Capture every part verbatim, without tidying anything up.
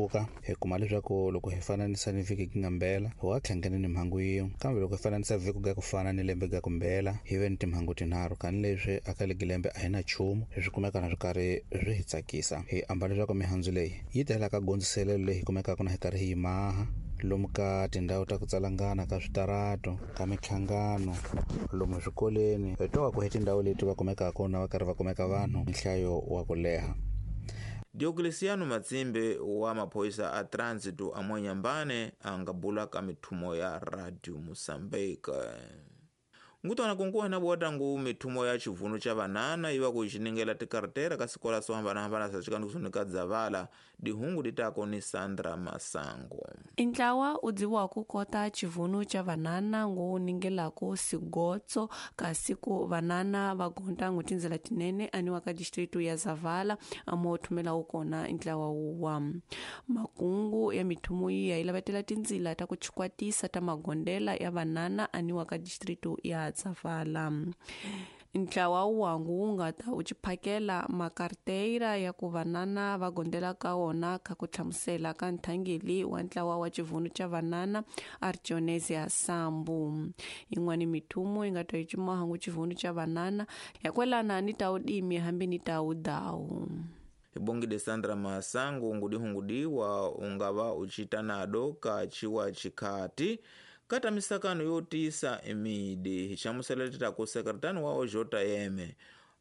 tlakuka. Hi kuma leswaku loko hi fananisa ni vhiki ki nga mbela hi wa tlhangene ni mhangu yin'we, kambe loko hi fananisa vhiki ga ku fana ni lembe ga ku mbela hi ve ni timhangu tinharhu. Kani leswi aka legi lembe a hi na nchumu, leswi kumeka na swi karhi swi hi tsakisa. Hi amba leswaku mihandzu leyi yi tela ka gondziselelo leyi hi kumekaka na hi karhi hi yi maha lomu ka tindhawu ta ku tsalangana ka switarato, ka minhlangano, lomu swikolweni, hi twa ku hi tindhawu leti va kumekaka na va karhi va kumeka vanhu nhlayo wa ku leha. Diocleciano Matsimbe wa maphoyisa a Trânsito a Mwanyambane a nga bula ka mithumo ya Radio Mozambique. Ngutwana kunkuwa na bota ngu mithumo ya chivuno cha vanana iwa kuichiningela tikartera ka sikola so hambana-hambana sa chikani kusunika dzavala dihungu ditako ni Sandra Masango. Intlawa udziwa kukota chivuno cha vanana ngu ningelako sigotso kasi ku vanana vagonda ngu tindzela tinene aniwa ka distritu ya Zavala amo thumela ukona intlawa uwa. Makungu ya mithumo iya ilavetela tindzila ta kuchikwatisa ta magondela ya vanana aniwa ka distritu ya Zavala. Ntlawa wangu wu nga ta u chiphakela makarteira ya ku vanana va gondela ka wona ka ku hlamusela ka nthangeli wa ntlawa wa chivuno cha vanana Artionesia Sambu. Yin'wana mithumo yi nga ta yi cimahangu chivuno cha vanana ya kwelana ni ta udimi hambi ni ta udawu. Ibongide Sandra Masango ngudihungudiwa ungava uchita nado ka chiwa chikati kata misakano yotisa emidi hichamuseleteta ku sekretani wa Ojota Yeme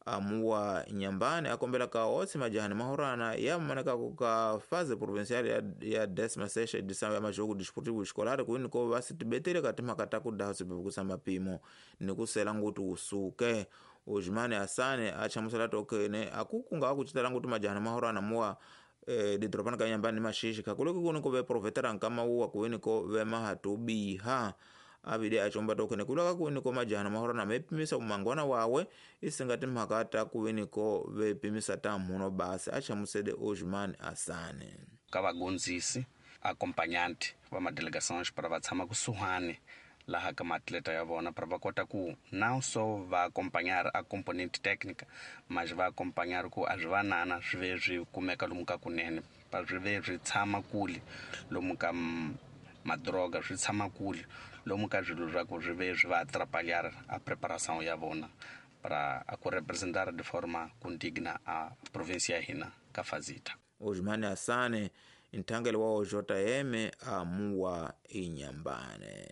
amuwa Nyambane akombela ka otsi majahani mahorana ya maneka kuka faze provincial ya, ya décima sexta edição ya majogo desportivo escolar kuini ko vasitibetele katima kataku daho sipepukusa mapimo nikusela nguti usuke. Ojimane Asane achamusela tokene akukunga akuchitala nguti majahani mahorana muwa eh, didropana ka Nyambane mashishi kakuloki kuno ko ve profetera nkama uwa kuini ko ve mahatubiha abide achomba tokene kulaka kuini ko majahana mahorana mepimisa umangwana wawe isingati mhakata kuini ko vepimisa tamuno basi achamusede Ojimane Asane. Ka vagondzisi acompanhante va madelegações para va tshama kusuhani laha ka maatleta ya vona para va kota ku não só va acompanhar a componente técnica, mas va acompanhar ku a swi vanana swi ve swi kumeka lomu ka kunene, pa swi ve swi tshama kule lomu ka madroga, swi tshama kule lomu ka swilo swa ku swi ve swi va atrapalhar a preparação ya vona para a ku representar de forma condigna a província ya hina ka fazita. Ojimane Asane nthangelo wa Ojota Yeme amuwa Inyambane.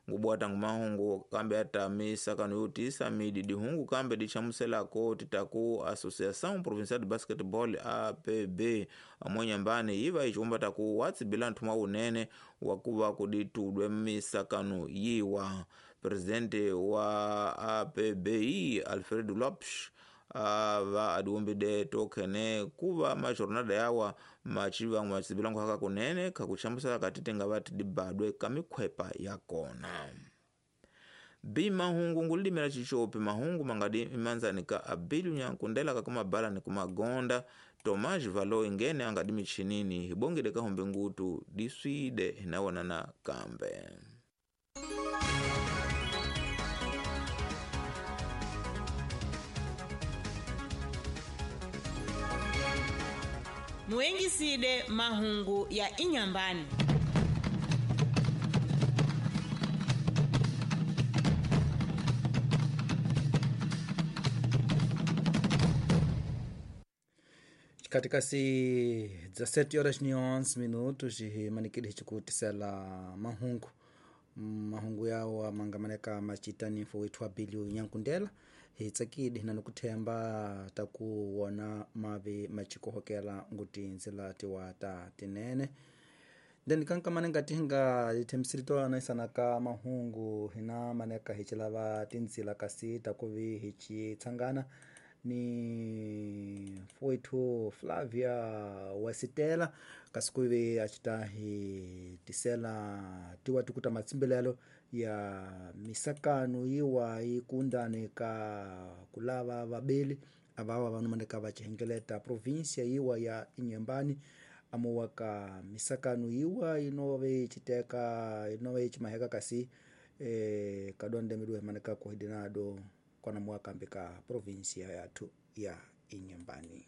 Ngubwata ngumahungu kambe atamisa kanu yotisa midi dihungu kambe dichamuselako titaku Associação Provincial de Basketball A P B amonyambane iva ichumba taku watsibila nthuma unene wakuva kuditudwe misakano yiwa. Presidente wa A P B Alfredo Lopes ava adiumbide tokene kuva majornada yawa machiva matsibilango haka kunene kakuchambusala katitenga vati dibadwe kamikhwepa yakona. Bi mahungu ngulimela chichopi mahungu mangadi imanzani ka abilu nyankundela kakumabala ni kumagonda Tomás Valo ingene angadi michinini hibongide kahombe ngutu diswide hinawonana kambe. Muengiside mahungu ya Inyambani. Katika si dezessete horas e onze minutos e manikiri hichikutisela mahungu mahungu yawo mangamaneka machitani fo wethu abilio nyankundela hitsakidi na nokuthemba takuwona mavi machikohokela nguti nzila tiwa ta tinene then kankamane ngati hinga ithembisirito anaisana mahungu hina maneka hichilava tinzila kasi takuvi hichitsangana ni foito Flavia Wasitela kasikuve achita hi tisela tiwa tukuta matsimbelelo ya misakano iwa ikundane ka kulava vabeli abawa vanomaneka vachihengeleta província iwa ya Inhambane amuwa ka misakano iwa inove chiteka inove chimaheka kasi eh, kadonde midwe maneka kuhidinado kona mwaka mbika província yathu ya Inhambane.